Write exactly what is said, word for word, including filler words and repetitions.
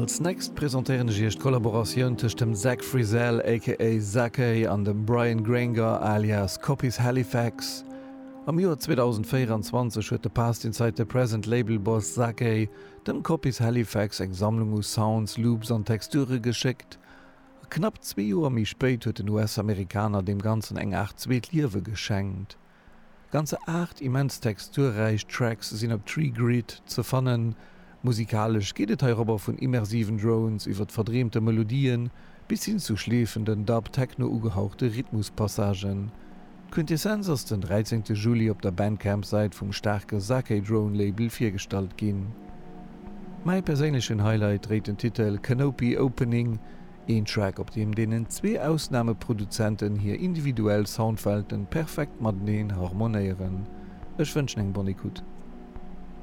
Als next presentéieren ech iech d'Kollaboratioun tëscht dem Zach Frizell aka Zakei an dem Brian Granger alias Copies Halifax. Am Joer zweedausendvéieranzwanzeg huet de Past Inside the Present Label-Boss Zakei dem Copies Halifax eng Sammlung u Sounds, Loops an Texture geschéckt. A knapp zwee Joer méi spéit huet den U S-Amerikaner deem Ganzen eng Aart zweet Liewe geschenkt. Ganzer aacht immens texturräich Tracks sinn op Tree Grid ze fannen. Musikalesch geet et heirobber vun immersiven Drones iwwer verdreemte Melodien bis hin zu schleefenden Dub-Techno ugehauchte Rhythmuspassagen. D'Quintessenz ass den dräizéngte Juli op der Bandcamp-Säit vum staarke Zakei Drone Label virgestallt ginn. Mäi perséinlechen Highlight dréit den Titel Canopy Opening, een Track op deem deenen zwee Ausnameproduzenten hir individuell Soundwelten perfekt mateneen harmonéieren. Ech wënschen eng bonne écoute.